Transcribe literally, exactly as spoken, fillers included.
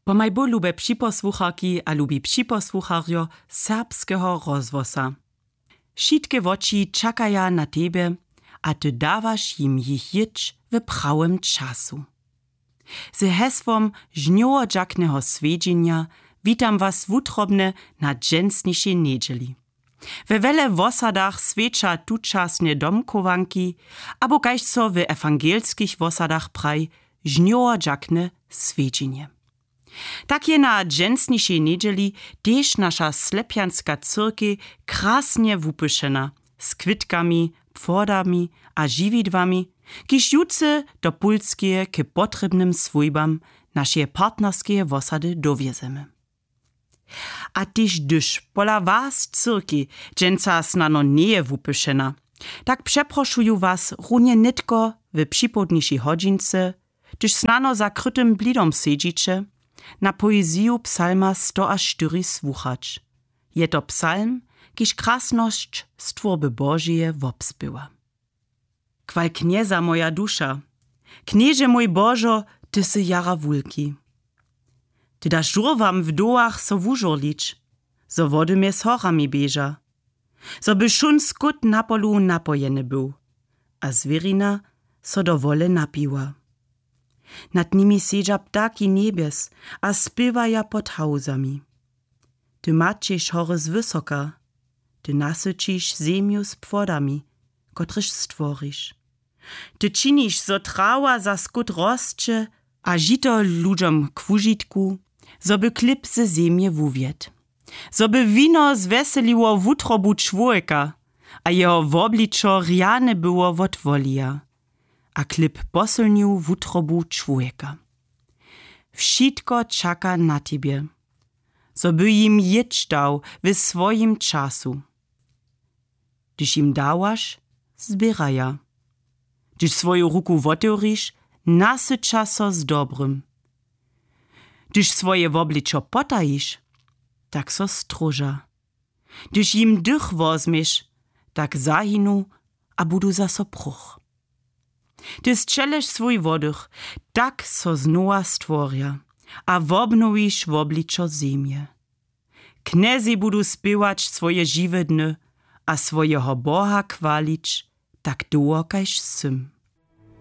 Pomaj bóh, lube připosłucharki a lubi připosłucharjo serbskeho rozhłosa. Wšitke woči čakaja na tebje, a ty dawaš jim jich jěć w prawym času. Z hesłom žnjowodźakneho swjedźenja witam was wutrobnje na dźensnišej njedźeli. We wjele wosadach swjeća tučasnje domchowanki, abo kaž so w ewangelskich wosadach praji, žnjowodźakne swjedźenje. Tak je na dźensnišej njedźeli tež naša slepjanska cyrkej krasnje wupyšena, z kwětkami, płodami a žiwidłami, kiž jutře do pulskeje k potrěbnym swójbam našeje partnerskeje wosady dowjezemy. A tež hdyž pola was cyrkej dźensa snano njeje wupyšena, tak přeprošuju was runje nětko w připołdnišej hodźince, hdyž snano za krytym blidom sedźiće, na poeziju psalma sto a štyri słuchać. Je to psalm, kiž krasnosć stwórby Božeje wobspěwa. Chwal Knjeza, moja duša. Knježe mój Božo, ty sy jara wulki. Ty daš žurłam w dołach so wužurlić, zo wody mjez horami běža, zo by wšón skót na polu napojeny był a zwěrina so do wole napiła. Nad nimi sedźa ptaki njebjes a spěwaja pod hałuzami. Ty maćeš hory zwysoka, ty nasyćiš zemju z płodami, kotrež stworiš. Ty činiš, zo trawa za skót rosće a žito ludźom k wužitku, zo by chlěb ze zemje wuwjedł, zo by wino zwjeseliło wutrobu čłowjeka a jeho wobličo rjane było wot wolija, a chlěb posylnił wutrobu čłowjeka. Wšitko čaka na tebje, zo by jim jěć dał w swojim času. Hdyž jim dawaš, zběraja. Hdyž swoju ruku wotewriš, nasyća so z dobrym. Hdyž swoje wobličo potajiš, tak so stróža. Hdyž jim dych wozměš, tak zahinu a budu zaso pruch. Ty sćeleš swój wodych, tak so znowa stworja a wobnowiš wobličo zemje. Knjezej budu spěwać swoje žiwe dny a swojeho Boha chwalić tak dołho kaž sym.